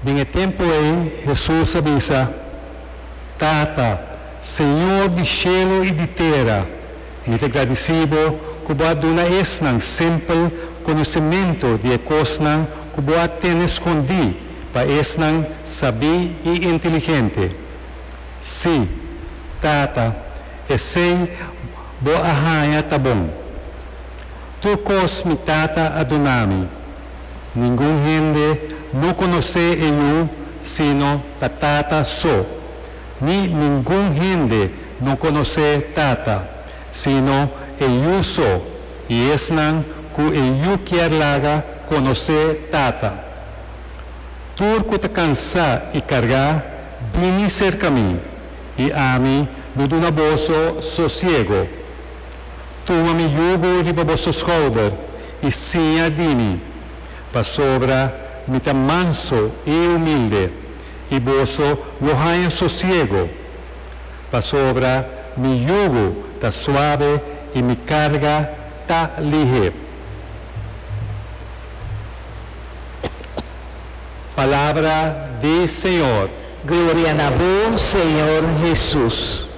Den e tempu ei Hesus a bisa, Tata, Señor di shelu i di tera, mi ta gradisí bo ku bo a duna esnan simpel konosementu di e kosnan ku bo a tene skondí pa esnan sabí i inteligente. Sí, Tata, esei bo a haña ta bon. Tur kos mi Tata a duna mi. Ningun hende no konosé e Yu sino ta Tata so, ni ningun hende no konosé Tata, sino e Yu so i esnan ku e Yu kier laga konosé Tata. Tur ku ta kansá i kargá, bini serka mi, i ami lo duna boso sosiego. Tuma mi yugo riba boso skouder i siña di mi, pasobra mi ta manso i humilde, i boso lo haña sosiego. Pasobra mi yugo ta suabe i mi karga ta lihé. Palabra di Señor. Gloria na bo, Señor Hesus.